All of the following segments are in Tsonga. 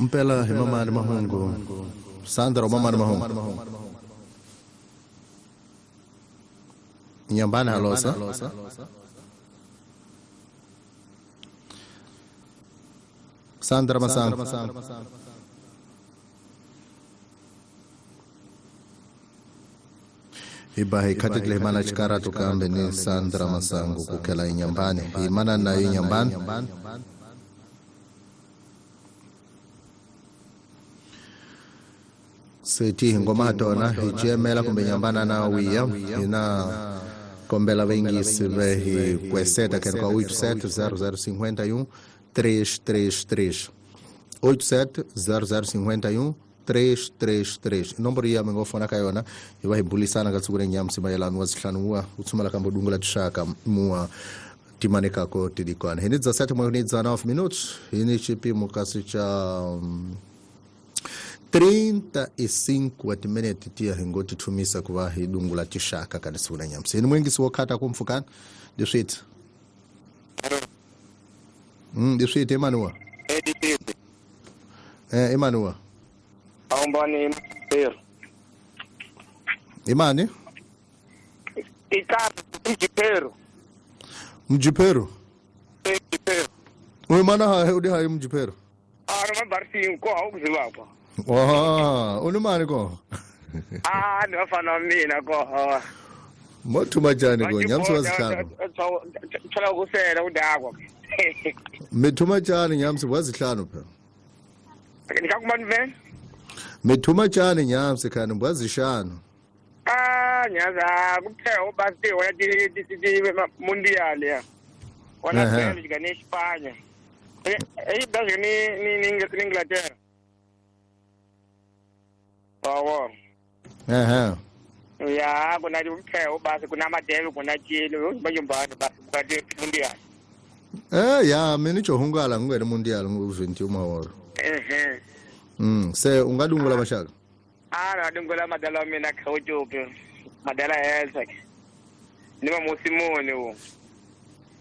Mpela hi mamani mahungu Sandra mamani mahungu Nyambani halosa Sandra Masango Iba hikatikile himana chikara tukambe ni Sandra Masango kukela inyambani himana na inyambani Seti ngoma tona hijemela kumbe nyambana na wiya ina kombela vengi sive hi kweseta ken kwa 870051 333 870051 333 nomboro ya mingofona kayona iba hibulisana katsukure nyamsi mayelano wa zihlanu wa utsumala kambo dungula tshaka mua timane kako tidikwana hini 17 minutos hini chipimo kasi cha 35 minutes tia hingoti thumisa kuva hidungula tishaka kanisuna nyamsi hini mwingisi wokhata kumfukana ndiswiti ndiswiti Emmanuel Emmanuel Awumbani Pedro. Imani? Ikapi Mjipero. Mjipero? Mjipero. Uy mana ha udi ha Mjipero. Ah no mabarsi ko awukuziba kwa. Ah, unumani ko? Ah, ni wafana mina ko. Mothuma tjani ko nyamsi wazihlanu. Tshala ukusela udakwa. Mithuma tjani nyamsi wazihlanu phela. Nikakumani vena? Mithuma tjani nyamsi khani mbwazishano. Ah, nyaza kuphela ubasti wona ti mundial ya. Wona Belgium ne Espanya. Eh Belgium ni Inglaterra. Bawo. Ehhe. Ya kuna kuphela ubasi kuna madebe kuna Chile bayombana basi bukati mundial. Eh ya mina ijohungala ngwena mundial ngu 21 mahoro. Ehhe. Se ungadungula bashaka. Ah nadungula madala mina khawujupe. Madala helsa. Ni ba musimoni wo.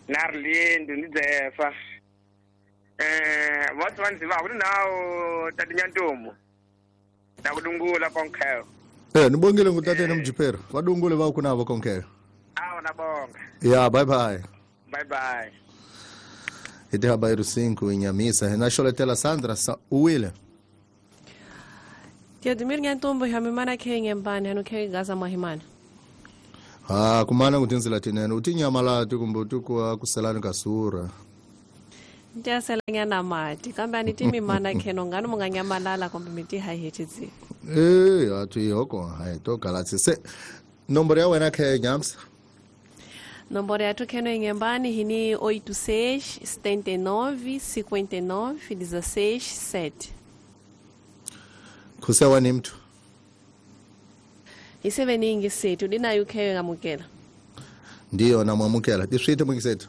Narlindu ni Zefa. What one ziba kunawo tatinyantombo. Nakudungula konke. Nibongile ngutatene Mjipero. Vadungule va kunavo konke. Ah nabonga. Yeah, bye bye. Bye bye. Ite habairo 5 inyamisa. Renasholetela Sandra Uwile. Teodemir Nyantombo hamimana ke ngembani hanuke gaza mahimana. Ah kumana kutinzila tinene utinyamala tikumbo kwa kuselani kasura. Ndiyasela nyana mati kambe anitimimana kheno ngani munganyamalala kumbe miti haihetizi. Eh atu yoko hai to galatsi se nomboro ya wena ke nyamsa. Nomboro ya kheno ingembani hini 86 79 59 16 7. Kusewa ni mtu. Iseveningi sethu dinayo ukheyo ngamukela. Ndiyo namwamukela. Diswite mwingisethu.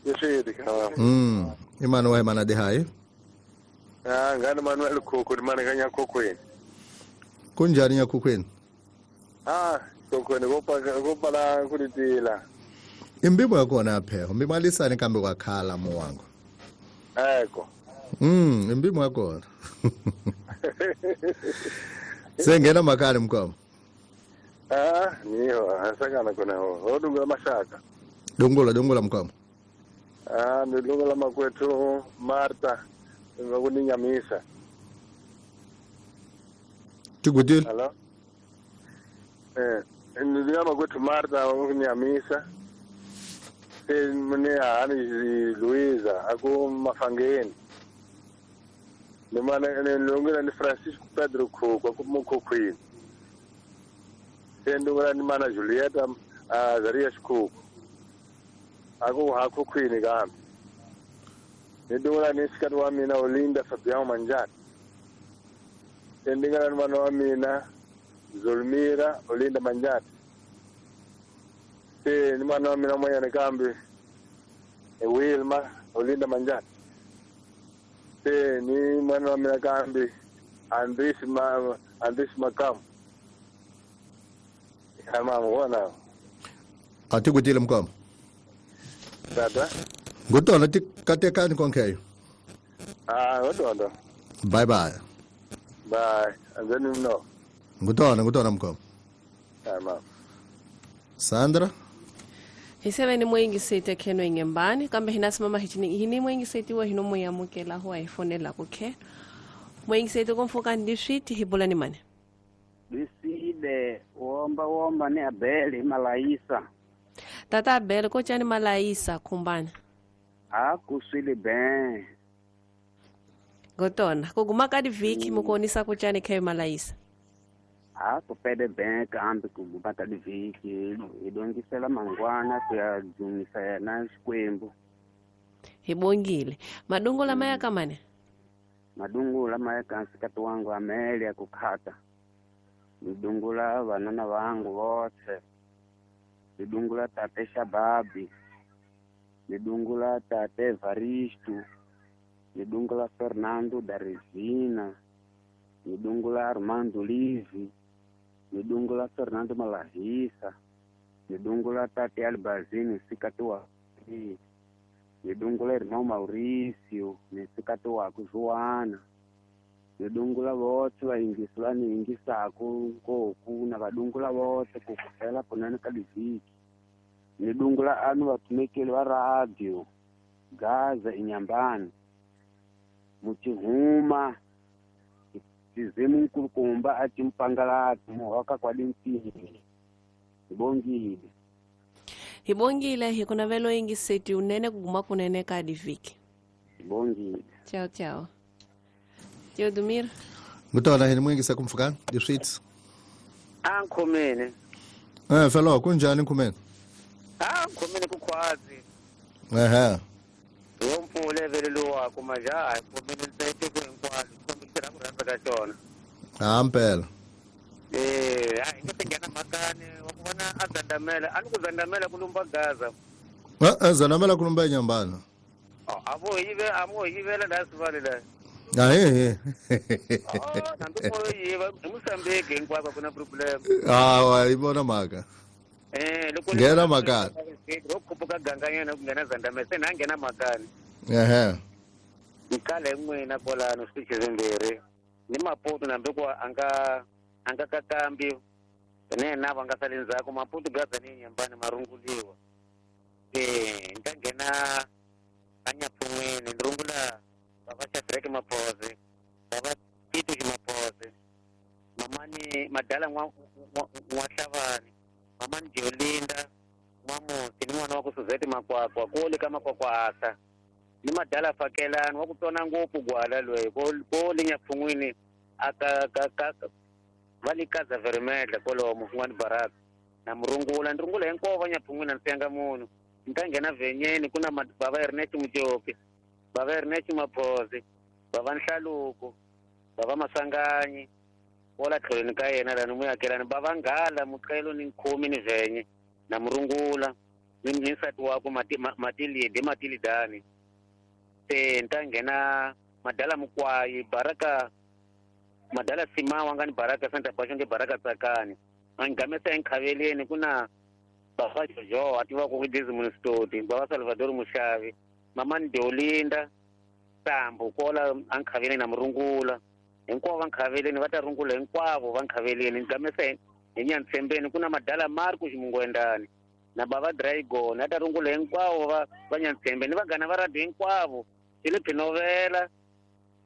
Diswite ka. Imani wa imana de hai. Ah ngani Manuel Khokho imana kanya Khokhweni. Kunjani nyakhukhweni? Ah Khokhweni kopa la kulitila. Imbibo yakona apha. Mbimalisane kambe kwakhala muwango. Eko. Imbibo yakona. Sengena makali mkwamo. Ah, niyo, asakana kona ho. Odungula mashaka. Dungula mkwamo. Ah, ndungula makwethu Martha ngakuninyamisa. Tigudile. Hello. Ndungula makwethu Martha ngakuninyamisa. Mune ani Luiza aku mafangeni. Nimana ndungula ni Francisco Pedro Khokho ku Mukhukhwini. Ndungula ni mana Julieta Azarias Khokho. Aku hakhukhwini kambe. Ndungula ni sikati wa mina Olinda Fabião Manjani. Ndungula ni mana wa mina Zulmira Olinda Manjani. Ni mana wa mina moyana kambe Wilma Olinda Manjani. Ni mwana wa mina kambi Andris Makamu. Mama wona. Atikutile mkwamo. Tata. Ngutona tikatekani konkeyo. Ah, ngotondo. Bye bye. Bye. Anzeni mno. Ngutona mkhoma. Tamam. Sandra hiseve ni muyingiseti kheno ingembani kambe hina simama hichini hini muyingiseti wa hino muyamukela huwa ifonela kukhe muyingiseti kumfuka ndiswiti hibula ni mane Biside womba ni Abeli Malaisa Tata Abeli kochani Malaisa kumbana akuswile ben Gotona kuguma kadi viki mukonisa kuchani khe Malaisa akupede ben kambe kuguma kadi viki idongisela mangwana kuyadzumisa yena xikwembu hibongile madungu lamaya kamane madungu lamaya kansikati wangu amele akukhata Nidungula vanana vangu votse nidungula tate Shababi nidungula tate Evaristo nidungula Fernando Darezina nidungula Armando Livi nidungula Fernando Malahisa nidungula tate Albazini nsikati wa nidungula irmão Maurício nsikati waku Joana nidungula votse vayingisi va ni yingisaku nkoku na vadungula votse ku kufela kunene ka livhiki nidungula anu vatumekeli va radio Gaza inyambani muchihuma tizimu nkulukumba a timpangalati muhoka kwa limpini hibongile hibongile hikunavelo yingiseti unene kuguma kunene ka livhiki hibongile ciao ciao Teodomir. Ngutona hini mwingisa kumfukana diswits. Ankhomene. Felo kunjani nkhomene? Ankhomene kukhwazi. Ehhe. Wompfule vele lo wakho majaha khomene ntsete ku hinkwalo kombisela ku rhandza ka xona. Hampela. Hayi ngi tingena makani wa ku vona a zandamela a ni ku zandamela ku lumba Gaza. Zandamela ku lumba enyambana. A mo yivela la sivale la. Ahe. Nambi mo yiva Mozambique hinkwako ku na problem. Hawa ibona maka. Loko ngena makani. Ro khuphuka ganganyana ku nghena Zandamela se na nghena makani. Ehe. Nkale n'wina kwalano switichi swimbirhi ni Maputo nambi ku anga kakambi ne na va nga sali ndzhaku Maputo Gaza ni Nyambani marunguliwa. Nta nghena anyapfun'wini ni rungula baba Shadrack Maphoze baba Tito Maphoze mamani madala N'wa-Hlavani mamani Jolinda N'wa-Musi ni n'wana wa ku Suzette Makwakwa kole ka Makwakwa asa ni madala Fakelani wa ku tsona ngopfu gwala loyi ko linyapfun'wini aka ka va le Kaza Vermedla kwalomo n'wani Baraka na murungula ni rungula hinkwavo va nyapfun'wini a ni siyanga munhu ni ta nghena vhenyeni ku na baba Ernest Mujopi baba Ernest Maphoze baba Nhlaluko baba Masanganyi wala tlhelweni ka yena lani muyakelani baba Nghala Muqelo ni Nkhomi ni Vhenye na murungula ni nsati wakwe Matilide Matilidani se ni ta nghena madala Mukwayi Baraka madala Simawa nga ni Baraka Santa Bashonge Baraka Tsakani a ngamesa enkhaveleni ku na baba Jojo a tivaka ku Desmond Stoti baba Salvador Mushavi mamani Deolinda Sambu kola ankhaveleni na murungula hinkwavo va nkhaveleni va ta rungula hinkwavo va nkhaveleni ngamesa hi Nyantsembeni ku na madala Marco Ximungwendani na baba Dragon a ta rungula hinkwavo va Nyantsembeni vanghana va radio hinkwavo Philip Novela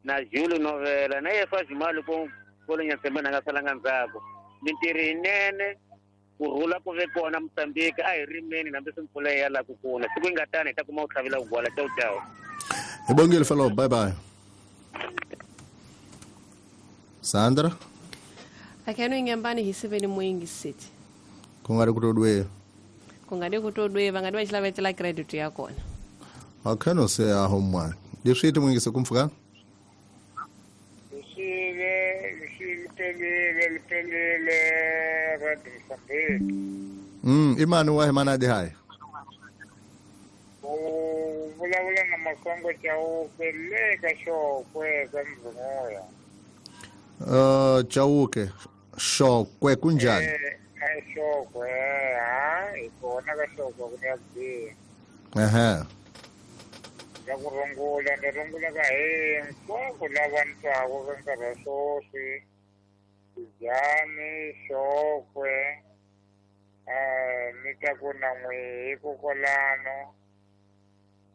na Jules Novela na Yefa Jimali ko le Nyantsembeni a nga salanga ndzhaku mintirho yinene ku rhula ku ve kona Mozambique a hi rimeni hambi swi mpfula ya la ku kuna siku yi nga tani hi ta kuma ku tlhavela ku gwala ciao ciao Hibongile fellow bye bye Sandra Akheno ingembani hisiveni muyingiseti Kungari kutodwe Kungari kutodwe vangadi va xilavetela credit ya kona Akheno se a homwa Leswi timuyingise kumfuka Lipelile radio Mozambique. Imani wa himana di hai. U vulavula na Makongo Chauke le ka Xokwe ka Mzunguya. Chauke Xokwe kunjani? Xokwe ha hi kona ka Xokwe ku ya biha. Ehe. La ku rungula ni rungula ka hinkwavo lava ni twaka ka nkarhi wa sweswi Tijani Xokwe ni ta ku na n'wihi kokwalano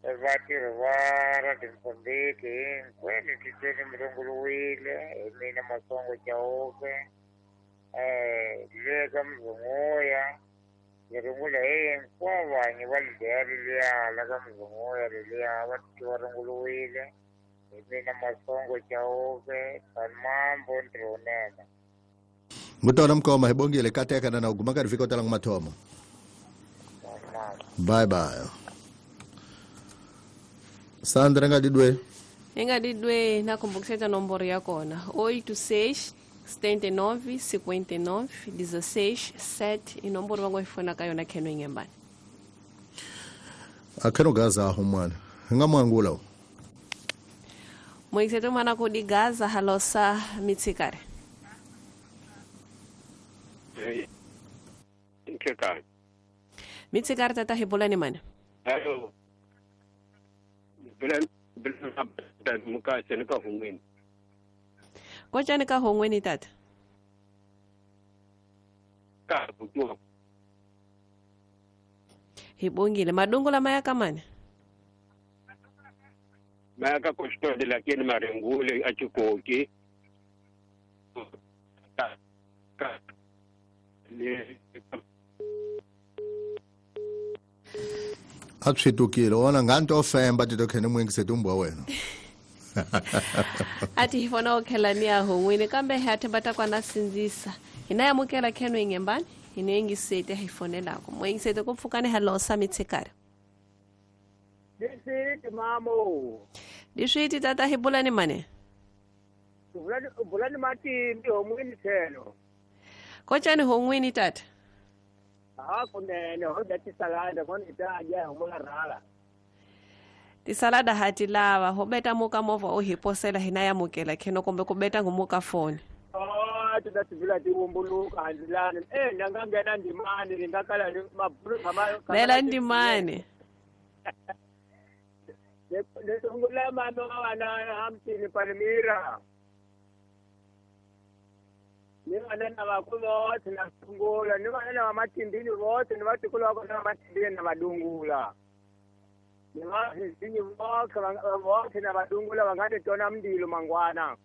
vatirhi va Radio Mozambique hinkwenu titweni mi runguriwile hi mina Masongo Chauke le ka Mzunguya ni rungula hinkwavo vanhu va lideya leliya la ka Mzunguya leliya va titwa va runguriwile hi mina Masongo Chauke Mambo ntirho wunene. Mutona mkoma hibongile kateka na uguma ka rifika tala mathomo. Bye bye. Sandra nga didwe. Nga didwe na kumbukiseta nomboro ya kona 86 79 59 16 7 inomboro vango ifona ka yona kheno ingembani. Akheno gaza humwana. Nga mwangula. Moiseto mana ko di gaza halosa mitsikare. Nkeka. Mitsikare tata hibolani mana. Hello. Bila bila muka senika hongweni. Kochani ka hongweni tata. Ka bukwa. Hibongile madongo la maya kamani. Maya ka kosto de la kien marengule achikoki. Ka ka le Atshitukile ona nganto femba titokhene mwingisete umbwa wena. Ati hifona okhelani ya hongwini kambe hathe batakwana sinzisa. Hinayamukela kheno ingembani hinengisete hifonelako. Mwengisete kupfukane halosa mitsikare. Diswiti mamo. Diswiti tata hibulani mane. Bulani matimbi hongwini thelo. Kochani hongwini tata. Ah kunene ho da tisalada kona itaja homola rala. Tisalada hati lava ho beta muka mova o hiposela hinayamukela kheno kombe kubeta ngumuka phone. Oh tudatibula tiwumbuluka handilana ndangangena ndimani ndingakala mabulu kama Bela ndimani. Ndisungula mama wana hamtini Palmira. Ni vana na vakulu vothe na sungula ni vana na matimbini vothe ni vatikulu va kona matimbini na vadungula. Ni vazinyi vothe vothe na vadungula va nga titona mndilo mangwana.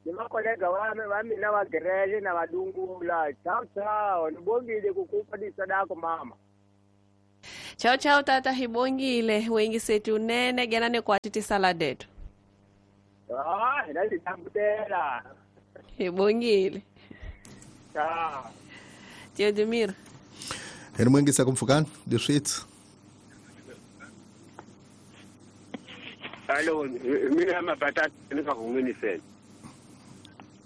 Ni vakolega va mina va gerele na vadungula. Ciao ciao nibongile kukupa disadako mama. Ciao ciao tata hibongile wengisetu unene genane kwa tisaladetu. Ah ndazitambutela. Hibongile. Ciao. Teodemir. Heri mwingisa kumfukani diswit. Hello mina mabata nika hongweni sena.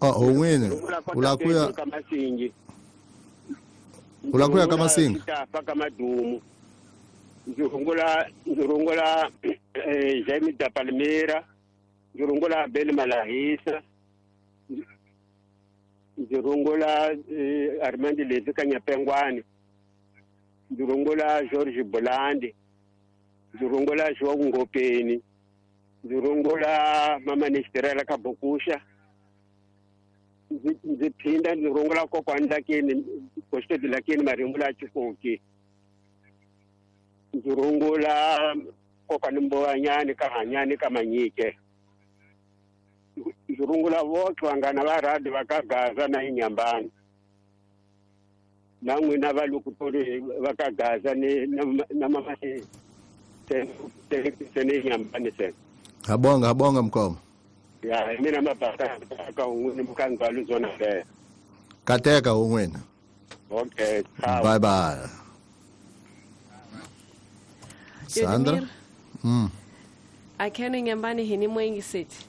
Ah hongweni ulakuya kamasingi. Ulakuya kamasingi. Tafa madumu. Nzurungula Jaime da Palmira, nzurungula Abel Malahisa, nzurungula Armand Levi Kanyapengwani, nzurungula George Bolandi, nzurungula João Ngopeni, nzurungula Mama Nesterela Kabukusha, nziphinda nzurungula kokwani lakini kostedi lakini marengula chikoki. Nzurungula kokwani mbowanyani kahanyani kamanyike. Nzurungula voke vangana va radi vakagaza na inyambani. Na n'wina valukutori vakagaza ni na mama se inyambani se. Habonga habonga mkoma. Ya mina mabata ka un'wini mukangwalu zona le. Kateka un'wini. Okay, ciao. Bye bye. Sandra. Akheno ingembani hini mwengiseti.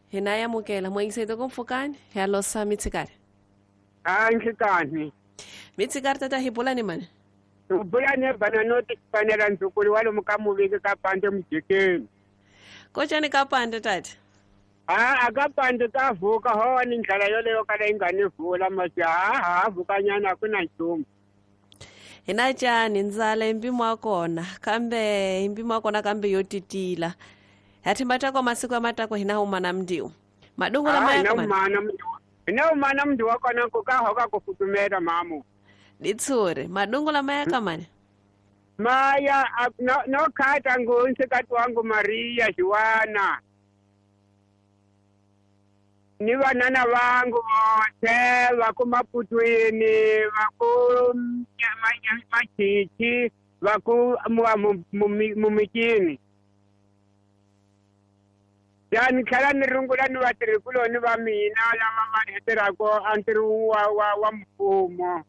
Hinayamukela mwengiseti kumfukani halosa mitsikare. Ah nkikani. Mitsikare tata hibulani mane. Ubulane bana noti kufanela nzukulu walo mukamuviki kapande mjikeni. Kochani kapande tata. Ah akapande kavuka ho ni ndlela yoleyo kala ingane vula manje ha vuka nyana kuna nchumu. Hina cani ndzala i mpimo wa kona kambe i mpimo wa kona kambe yo titila. Hathimba tako masiku ya matako hina humana mndiu. Madungu la maya kama. Hina humana mndiu wa kona kuka hoka kufutumela mamu. Ditsure, madungu la maya kama ni? Maya, no kata ngunse katu wangu Maria Juana. Ni wanana wangu wote wako Maputwini, wako Machichi, wako Mumikini. Yani khala nirungula ni vatirhikulo ni va mina lava va heterako antirho wa mfumo.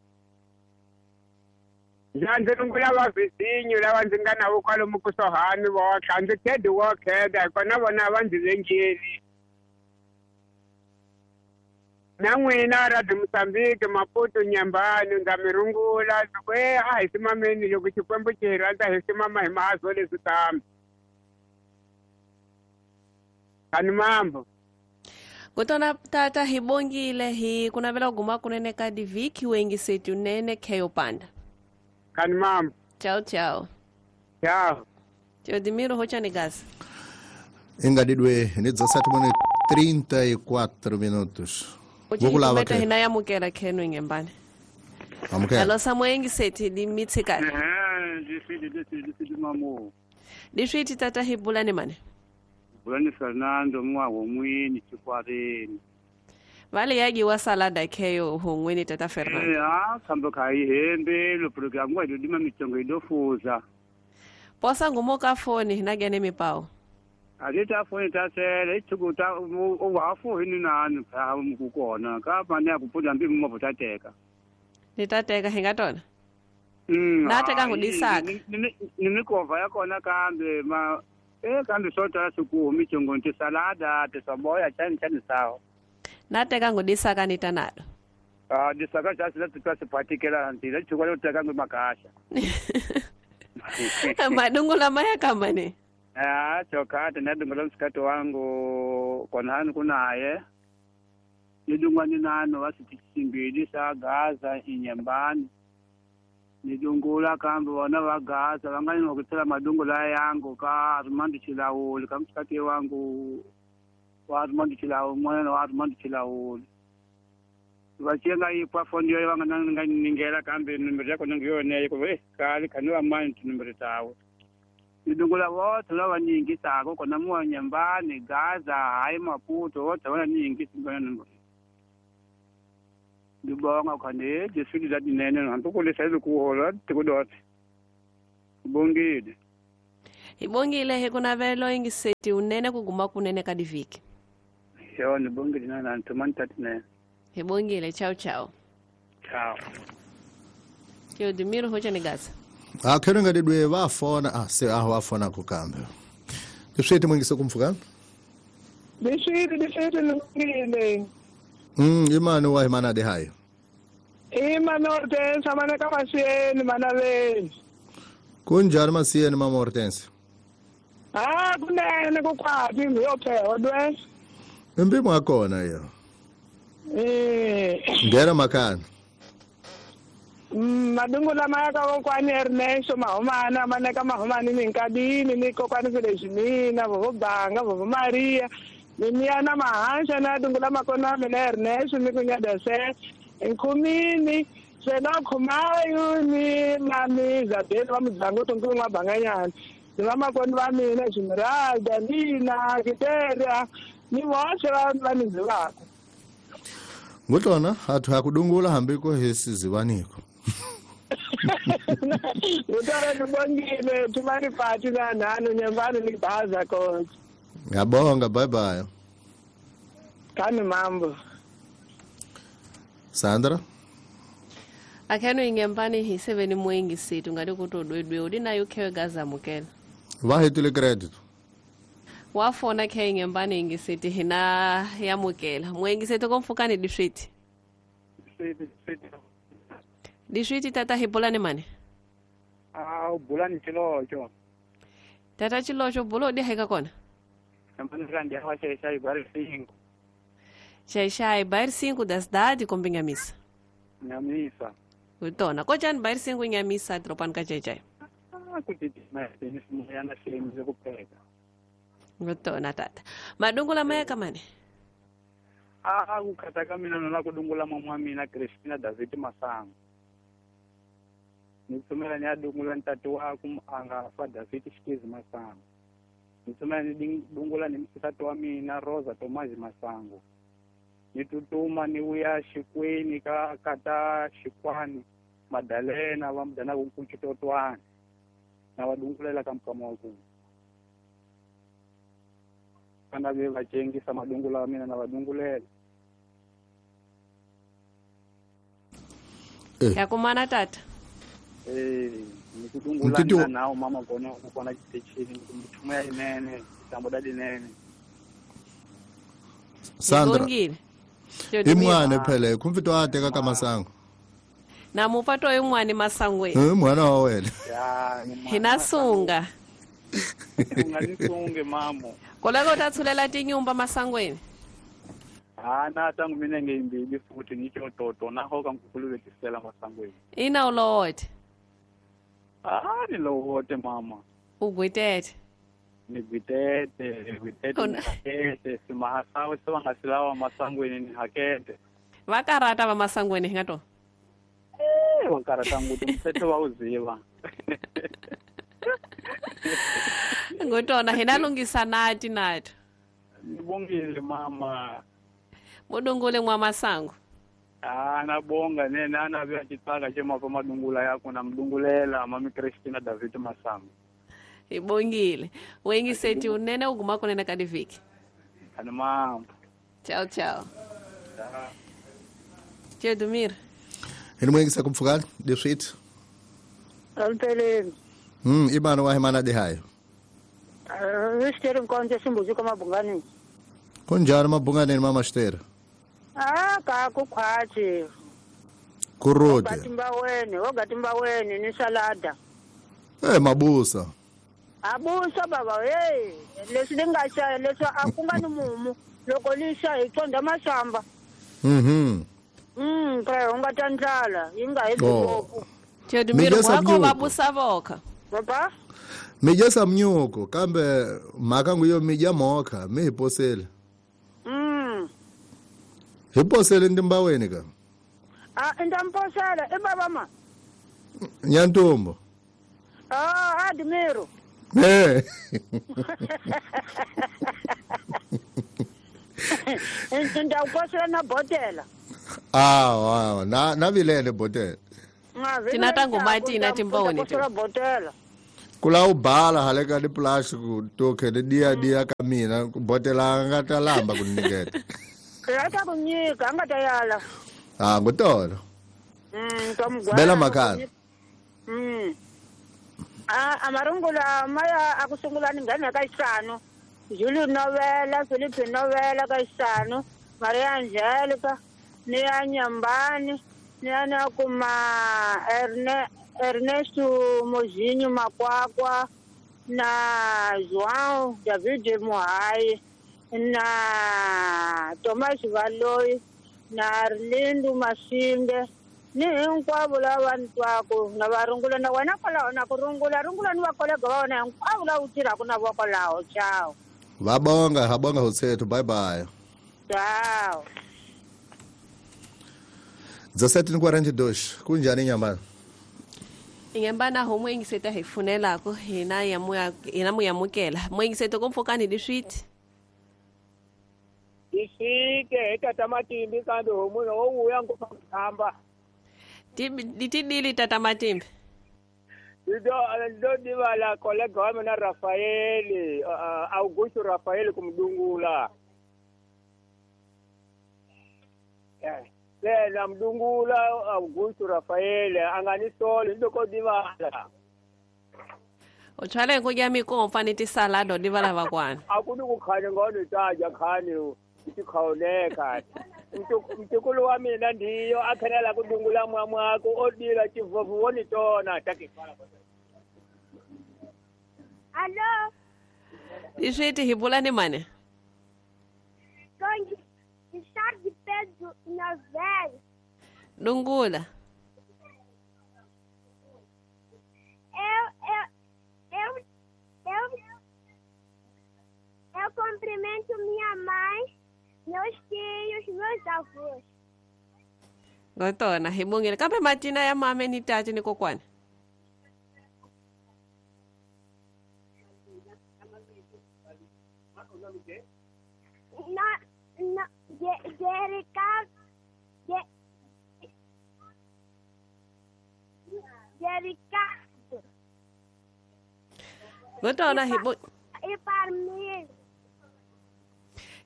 Ndzi rungula va vhizinyo lava ndzi nga na vo kwalomu kusuhani votlha ndzi khedi wo kheda hikona vona va ndzi vengeli. Na n'wina Radio Mozambique Maputo Nyambani ndza mi rungula ndzi ku a hi simameni loko Xikwembu xi hi rhandza hi simama hi mahazo leswi kambe. Kani mambo. Kutona tata hi bongile hi kunavela guma kunene ka diviki wengi setu nene keyo panda. Kani mambo. Ciao ciao. Ciao. Teodimiro hocha ni gasi. Engadidwe ni 17:34 minutos. Vokulava ke. Hina yamukela kheno ingembane. Amukela. Alo samwengi sethi dimitsika. Difidi mamo. Difidi tata hibulani mane. Bulani Fernando mwa womwini chikwareni. Vale yagi wa salada keyo hongweni tata Fernando. Kambo kai hembe lo programu wa dima mitongo idofuza. Posa ngumoka foni hinagene mipao. Alita foni tasele ithukuta owafu hini nani pha mukukona ka mane akupuza mbi mumavutateka. Nitateka hingatona. Nateka ngudisaka. Nimikova yakona kambe ma kambe sota siku mitongo nti salada tisaboya chani chani sawa. Nateka ngudisaka nitanado. Disaka chasi la particular nti la chukwa loteka ngumakasha. Madungu la maya kama ni. Chokata nadungula msikato wangu kona hani kunaye. Nidungwa ninano wasitisimbili sa Gaza inyambani. Nidungula kambe wana wa Gaza wangani wakutsela madungula yangu ka Armando Chilauli ka msikati wangu wa Armando Chilauli mwana wa Armando Chilauli. Vachenga ipa fondi yo wanga ningela kambe numero yako nangiyone ko kali kanwa mani numero tawo. Nidungula wote lava nyingi sako kona mwa nyambani Gaza hayi Maputo wote wana nyingi singona numero. Ndibonga khane jesudi la dinene hambe kulesa kuhola tikudote. Bongile. Ibongile hekunavelo ingiseti unene kuguma kunene kadiviki. Yo nibongile nana ntumani tatine. Ibongile ciao ciao. Ciao. Teodimiro hocha ni Gaza. Akhero ngadidwe vafona se wafona kukambe. Tiswete mwingise kumfukana? Diswete ningile. Imani wa imana de hayo. Imani Hortense amane kama sieni manaveni. Kunjani masiyeni mama Hortense? Kunene kukwaphi ngiyophewa dwe. Impimo yakona iyo. Ngera makana. Madungu la maya ka kokwani Ernesto Mahomana maneka Mahomani minkadini ni kokwani Felizmina vovo Banga vovo Maria mimiana Mahansha na dungu la makona mina Ernesto mikunyadase nkhumini sena khumayu ni mami Isabel wa mudzango tonkulu n'wa Banganyana ni vamakoni va mina Esmeralda Nina Kiteria ni voxe va ni zivaka. Ngutona athu akudungula hambiko hesizivaniko. Ngutona ndibongile thumani pati na nanu nyambani nibhaza konke. Ngiyabonga bye bye. Kani mambo. Sandra Akheno ingembani hi 7 mwengi situ ngati kutodwedwe udinayo khewe Gaza mukela. Vahetile credit. Wafona khe ingembani ingisithi hina yamukela. Mwengi situ komfukani diswiti. Diswiti tata hibulani mane. Bulani chilocho. Tata chilocho bulo di haika kona. Ndi bairro 5. Xaixai, bairro 5 da cidade com Binhamissa. Nhamissa. Utona kojani bayirisengu nyamisa dropani ka jejai. Kuti yana sehemu kupeka. Utona tata. Madungula maya kamane. Kukataka mina nona kudungula mama mina Christina David Masango. Nitsumela ni adungula ntatu wako anga fa David Shikizi Masango. Nitsumela ni dungula ni msitatu wa mina Rosa Tomazi Masango. Nitutuma ni uya Shikweni ka kata Shikwani Madalena wa mdana kunkuchitotwana. Na wadungulela kamkama waku. Kana be vachengisa madungula wa mina na wadungulela. Ya kumana tata. Nikudungula nao mama kona kukona chitechini nikumtumia inene tambodadi nene. Sandra. Imwane phela kumfito ateka kamasango. Na mupato imwane masangwe. Mwana wa wena. Ya hinasunga. Unganisunge mamo. Koleko tathulela tinyumba masangweni. Ana tangu mina ngeyimbili futhi ngisho toto naho kangikhululekisela masangweni. Ina ulowote. Ni lowote mama. Ugwitete. Nigwitete, gwitete, simahasawe sibangasilawa masangweni ni hakete. Vakarata va masangweni hingato. Vakarata nguti mthetho wawuziva. Ngotona hinalungisa nati nato. Nibongile mama. Mudungule mwa masango. Nabonga nene ana vya chitaka chema pa madungula yako na mdungulela mami Christina David Masango. Ibongile. Wengi seti unene uguma kunena kadiviki. Kana mama. Ciao ciao. Ciao Dumir. Eni mwengi sakumfukani deswit. Alpele. Ibana wa hemana de hayo. Rishtere mkonje simbuzi kama bungani. Kunjani mabunganeni mama Shtera? Ka kukhwathi. Kurode. Ogatimba weni ni salada. Mabusa. Abusa baba hey, leswi lingasha leswi akunga ni mumu loko lisha hi tsonda masamba. Pra unga ta ndlala yi nga heti ngopfu. Tedumiro wako mabusa voka. Baba? Mijesa mnyuko kambe mhaka nguyo mija moka mi hiposele. Hiposele ndimbaweni ka. Ndamposela e baba ma. Nyantombo. Admiro. Ndawuposela na botela. Na vilele botela. Tinata ngomati na timboni. Posela botela. Kula ubhala haleka ni plastic toke ni dia dia kamina botela nga ta lamba kuniketa. Rata kunyika anga tayala. Ngotolo. Tomgwa. Bela makala. Amarungula maya akusungula ngane ka isano. Julio Novela, Felipe Novela ka isano, Maria Angelica, ni Anyambani, ni ana kuma Ernesto Mozinho Makwakwa na João David Muhai na Thomas Valoi na Arlindo Masinde ni hinkwavo lava ni twaku na va rungula na wena kwalaho na ku rungula rungula ni va kolega va wena hinkwavo lava u tirhaka na vona kwalaho. Ciao. Va bonga ha bonga hotsethu. Bye bye. Ciao. 17:42 kunjani nyambana? Ingembana homo ingiseta hi funelako hina yamuya hina muyamukela moingiseta komfokani diswiti isike tata Matimbi kambe homo wo uya ngofamba ditidili tata Matimbi ndo divala kolega wa mina Rafaeli Augusto Rafaeli kumdungula na mdungula Augusto Rafaeli anganisole ndoko divala Ochale nkudya mikomfa ni salado divala vakwana akuni kukhanya ngono taja khani tikhawuleka mtukulu wa mina ndiyo akhanela kudungula mwamwako odila chivovu wonitona takifala. Allo Iswiti hibulani mane Kongi Richard Pedro Novel Dungula Eu cumprimento minha mãe, meus tios, meus avós. Gotona, hi bongile. Kambe matina ya mame ni tati ni kokwana. No, Jericardo. Gotona, e Parmir.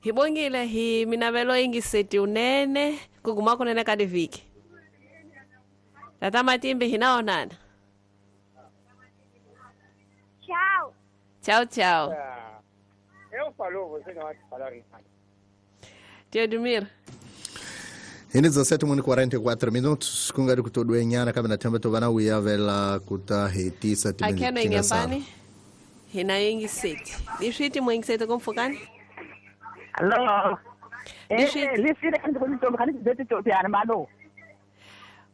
Hi bongile hi minavelo yingiseti unene kuguma kunene ka diviki. Tata Matimbi hinaonana. Tchau. Tchau, tchau. Eu falou, você não vai falar nada. Teodomiro. Ini 17:44 minutos kungari kutodwenyana kambe na themba tovana uyavela kuta hetisa Akheno ingembani hina yingiseti. Liswiti mwingiseti kumfukani? Allo. Liswiti kandi kuntombi kandi dzeti malo.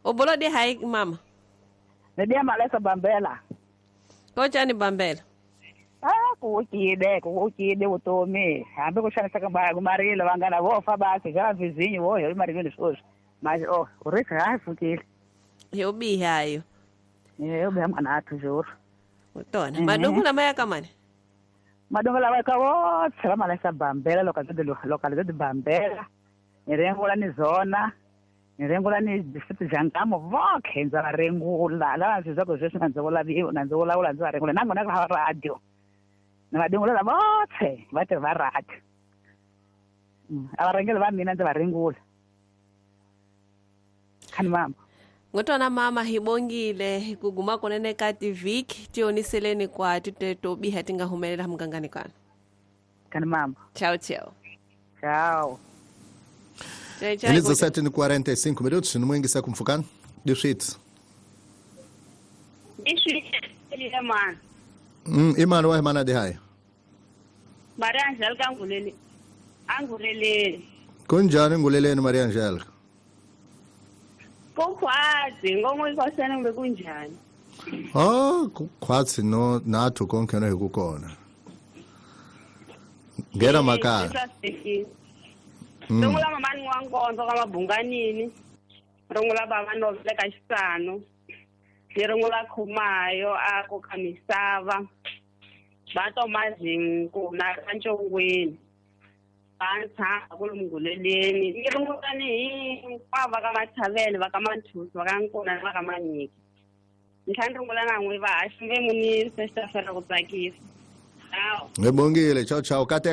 Obolo de hai mama. Nedia malesa bambela. Kochani bambela. Ah, kuukide utomi. Hambe kuxanisa ka marilo vangana vo fa basi ja vizinho vo yo marilweni sweswi. Mas oh, urika hayi fukile. Yo bihayo. Yo biha mwana juro. Utona. Madongo la maya kamani. Madongo la ka votse va malesa bambela localidade bambela. Ni rengula ni zona. Ni rengula ni distrito jangamo vokhe ndza va rengula lava ndzi zwa ku sweswi na ndzi vula na ndzi vulavula ndzi va rengula nangona ka radio. Ni va dingula votse va tirhi va radio. A varhangeri va mina ndzi va rengula. Khani mama. Ngotwana mama hi bongile kuguma kunene ka tiviki tioniseleni kwa titeto biha tinga humelela mugangani kana. Khani mama. Tchau, tchau. Tchau. Ele 17:45 minutos, no mwingi sa kumfukana. Dishit. Dishit ile man. Imani wa mana de hai. Maria Angelica angulele. Angulele. Kunjani nguleleni Maria Angelica? Kukhwazi ngomwe ikosana ngbe kunjani? Ah, kukhwazi no nathu konke no hikukona. Ngera makaya. Rungula mamani wa nkonzo ka mabunganini. Rungula baba novele ka xisano. Ni rungula khumayo a ko ka misava. Va tomazinku na ka ncongweni. Va ntshava ku lunguleleni. Ni rungula ni hinkwavo va ka Mathavele, va ka Manthusi, va ka Nkuna na va ka Manyiki. Ni tlhela ni rungula na n'wi va haxi ve munisi xi ta fela ku tsakisa. Ngibongile, ciao ciao. Kate